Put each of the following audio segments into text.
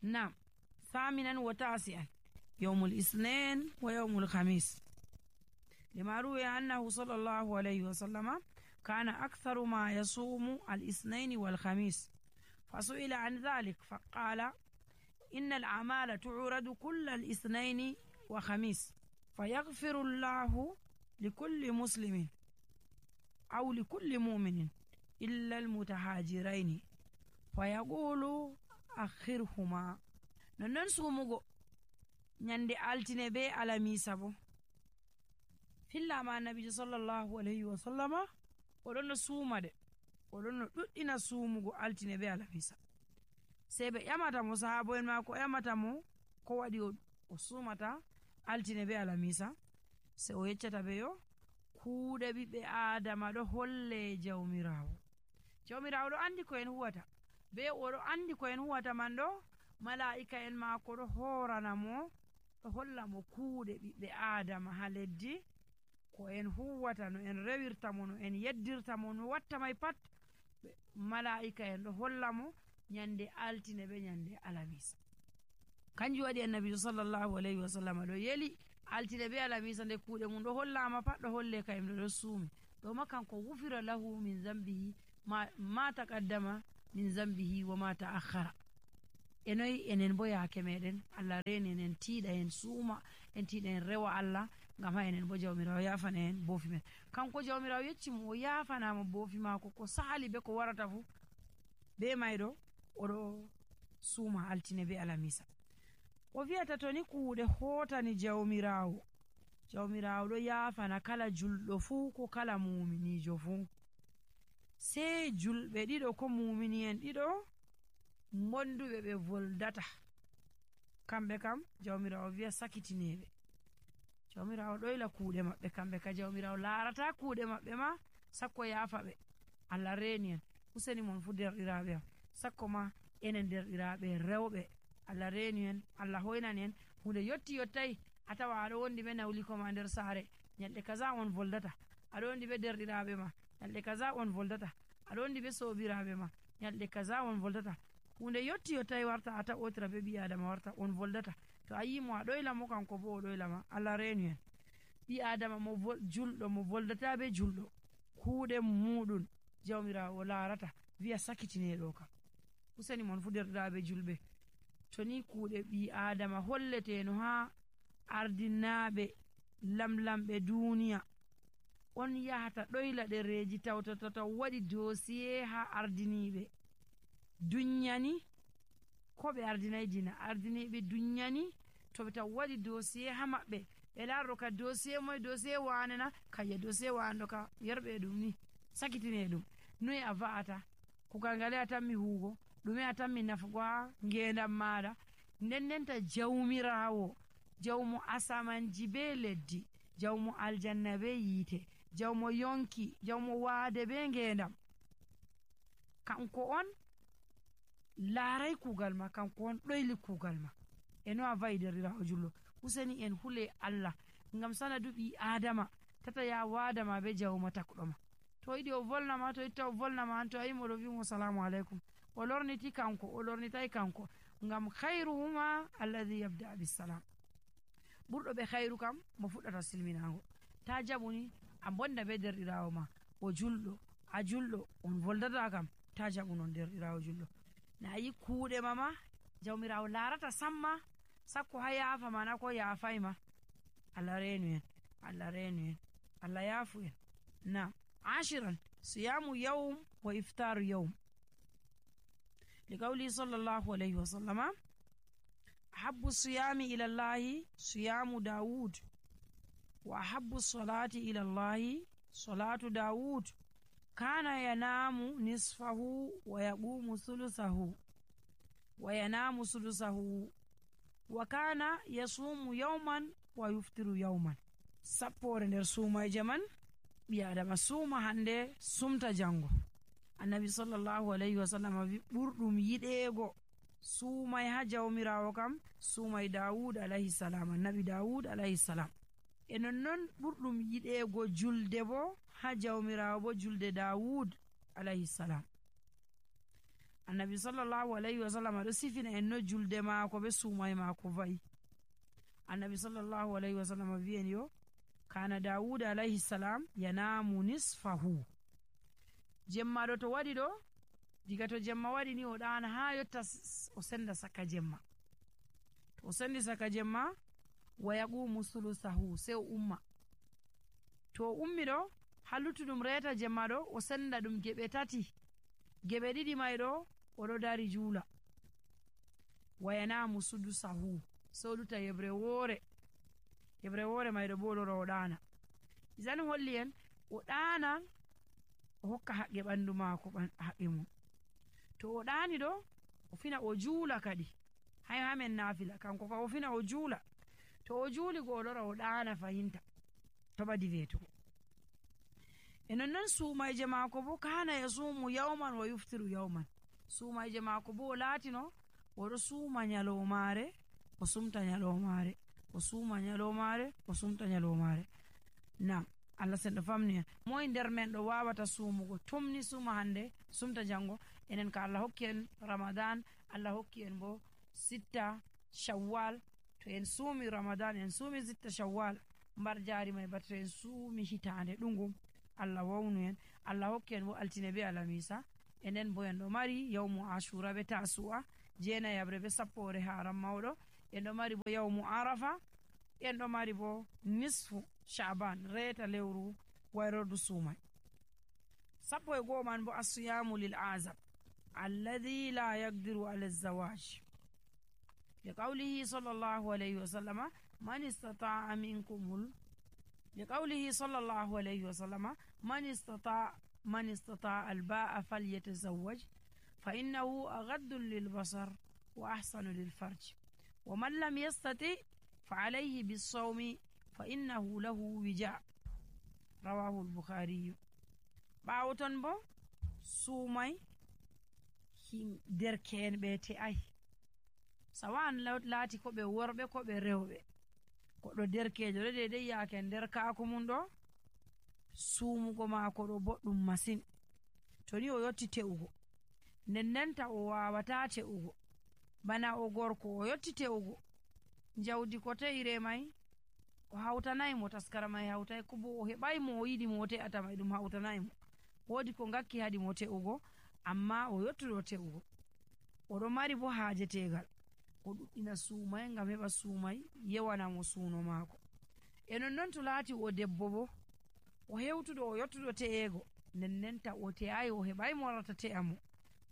نعم. ثامنا وتاسعا يوم الاثنين ويوم الخميس، لما روي أنه صلى الله عليه وسلم كان أكثر ما يصوم الاثنين والخميس، فسئل عن ذلك فقال: إن الأعمال تعرض كل الاثنين وخميس، فيغفر الله لكل مسلم أو لكل مؤمن إلا المتهاجرين فيقول أخرهما. نون سومغو nyande altine be alamisa bo fillama annabijo sallallahu alaihi wa sallama oɗon no suumade, oɗon no ɗuɗɗina suumugo altine be alamisa. Sai ɓe ƴamata mo, sahabo'en mako ƴamata mo ko waɗi o suumata altine be alamisa, sai o yeccata ɓe yo kuuɗe ɓiɓɓe adama ɗo holle jawmirawo ɗo andi ko en huwata, be oɗo andi ko en huwata man ɗo mala'ika en mako ɗo horana mo, ɗo holla mo kuuɗe ɓiɓɓe adama ha leddi ko en huwata, no en rewirta mo, no en yeddirta mo, no watta mai pat mala'ika en ɗo holla mo nyande altine be nyande alamisa. Kanjum waɗi annabijo sallallahu alaihi wasallam ɗo yeli altine be alamisa nde kuuɗe mum ɗo hollama pat ɗo holle kayim ɗo suumi ɗo ma kanko wufira lahu min zambihi ma taqaddama min zambihi wa ma ta'akhkhara. Enoyi enen bo yaake meɗen Allah reni en tiiɗa en suuma, en tiiɗa en rewa Allah ngam ha enen bo jawmirawo yafana en boofi men. Kanko jawmirawo yecci mo o yafanama boofi mako ko sahali be ko warata fu, be mayɗo oɗo suuma altine be alamisa. O wi'ata to ni kuuɗe hotani jawmirawo ɗo yafana kala julɗo fu ko kala muminijo fu, sei julɓe ɗiɗo ko mumini en ɗiɗo monduɓe ɓe voldata, kamɓe kam jawmirawo wi'a sakitineɓe. Jawmirawo ɗoyla kuuɗe maɓɓe, kamɓe ka jawmirawo larata kuuɗe maɓɓe ma sakko yafa ɓe. Allah reni en, useni mon fu derɗiraɓe am, sakko ma enen derɗiraɓe rewɓe Allah reni en, Allah hoynani en hunde yotti yottai a tawa aɗo wondi ɓe nawliko ma nder saare, nyalɗe kaza on voldata, aɗo wondi ɓe derɗiraɓe ma nyalɗe kaza on voldata, aɗo wondi ɓe sobiraɓe ma nyalɗe kaza on voldata. Hunde yotti yottai warta a taɓotira be ɓi adama warta on voldata. To a yimo a ɗoyla mo kanko bo o ɗoyla ma. Allah reni en, ɓi adama mo julɗo mo voldata be julɗo kuuɗe muɗum jawmirawo larata wi'a sakitineɗo kam. Useni mon fu derɗiraɓe julɓe, to ni kuuɗe ɓi adama holleteno ha ardinaɓe lamlamɓe duniya on yahata ɗoyla ɗereji tawtata taw waɗi dosiye ha ardiniɓe dunyani ko ɓe ardinayi dina, ardiniɓe dunyani to ɓe taw waɗi dosiye ha maɓɓe ɓe larro ka dosiye moye dosiye wane na kayya dosiye wane ɗo ka yerɓe ɗum ni sakitine ɗum noyi a va'ata kugal ngale a tammi huugo ɗume a tammi nafugo ha ngendam maɗa. Ndendenta jawmirawo jawmo asamanji be leddi, jawmo aljanna be yiite, jawmo yonki, jawmo waade be ngendam, kanko on laaray kuugal ma, kanko on ɗoyli kuugal ma. Eno a vayi derɗirawo jullo, useni en hule Allah ngam sanadu ɓi adama tata ya waadama be jawma takɗoma. To yiɗi o volnama, to itta o volnama an, to a yimo ɗo wimo salamu aleykum, o lorniti kanko, o lornitay kanko, ngam khairuhuma alladhi yabda bisalam. Ɓurɗo ɓe khairu kam mo fuɗɗata silminago. Ta jaɓuni a bonda be derɗirawo ma o julɗo, a julɗo on voldata kam, ta jaɓu non derɗirawo julɗo. Na yi kuuɗe mama jawmirawo larata samma sakko ha yafa mana ko yafayma. Allah renu en, Allah renu en, Allah yafu en. Na 10 siyamu yawm wa iftaru yawm, لقوله صلى الله عليه وسلم: أحب الصيام إلى الله صيام داود، وأحب الصلاة إلى الله صلاة داود، كان ينام نصفه ويقوم ثلثه وينام ثلثه، وكان يصوم يوما ويفطر يوما. سبور nder suumayje man ɓi adama suuma hande sumta jango. Annabi sallallahu alaihi wasallam wi ɓurɗum yiɗeego suumay ha jawmirawo kam suumay Dawud alayhi salam, annabi Dawud alayhi salam. E nonnon ɓurɗum yiɗeego julde bo ha jawmirawo bo julde Dawud alayhi salam. annabi sallallahu alayhi wa sallam ɗo sifina en no julde maako be suumay maako va'i. annabi sallallahu alayhi wa sallam wi'en yo kana dawuda alayhi salam yanamu nisfahu. jemma ɗo to waɗi ɗo, diga to jemma waɗi ni o ɗana ha yotta o senda saka jemma. to o sendi saka jemma wa yaqumu sulusahu, sey o umma. to o ummi ɗo ha luttuɗum reta jemma ɗo o senda ɗum geɓe tati. geɓe ɗiɗi may ɗo oɗo dari juula. wa yanamu sudusahu, sey o luta yebre woore. yebre woore may ɗo bo ɗo o ɗana. isani holli en o ɗana o hokka haqqe ɓandu maako haqqe mum. to o ɗani ɗo o fina o juula kadi, hay hamen nafila kanko ka o fina o juula. to o juuli go o lora o ɗana fahinta to ɓadi wetugo. e nonnon suumayje maako bo kana yasumu yawman wa yuftiru yawman. suumayje maako bo o laatino oɗo suuma nyalomare o sumta nyalomare, o suuma nyalomare o sumta nyalomare. nam Allah senɗo famni en. moye nder men ɗo wawata suumugo tumni suuma hande sumta jango? enen ka Allah hokki en ramadan, Allah hokki en bo sitta shawwal. to en suumi ramadan en suumi sitta shawwal mbar jari may ba to en suumi hitande ɗungum Allah wawnu en. Allah hokki en bo altine be alamisa. enen bo en ɗo mari yawmu ashura be tasu'a, jeenayabre be sappore haram mawɗo. en ɗo mari bo yawmu arafa. en ɗo mari bo nisfu sha'ban, reta lewru wayrordu suumay. sappo e go'o man bo asiyamu lil azab alladhi la yaqdiru ala zawaj liqawlihi sallallahu alayhi wa sallama man istata'a minkum liqawlihi sallallahu alayhi wa sallama man istata'a al-ba'a falyatazawwaj fa innahu aghaddu lil basar wa ahsanu lil farj wa man lam yastati fa alayhi bis sawmi fa innahu lahu wija. rawahu al-bukhari. ɓaawo ton bo suumay derke'en ɓe te'ay, sawan laati ko ɓe worɓe ko ɓe rewɓe. goɗɗo derkejo ɗo dedei yaake nder kaako mum ɗo suumugo maako ɗo boɗɗum masin. to ni o yotti te'ugo ndendenta o wawata te'ugo. bana o gorko o yotti te'ugo jawdi ko te'ire may o hawtanayi mo, taskara may hawtay ko bo o heɓay mo o yiɗi mo o te'ata may ɗum hawtanayi mo. woodi ko ngakki hadi mo te'ugo amma o yottuɗo te'ugo. oɗo mari bo haaje tegal o ɗuɗɗina suumay ngam heɓa suumay yewana mo suuno maako. e nonnon to laati o debbo bo o hewtuɗo o yottuɗo te'ego ndendenta o te'ayi o heɓay mo warata te'a mo,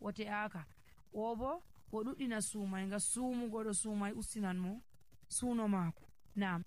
o te'aka. o bo o ɗuɗɗina suumay ngam suumugo ɗo suumay ustinan mo suuno maako. nam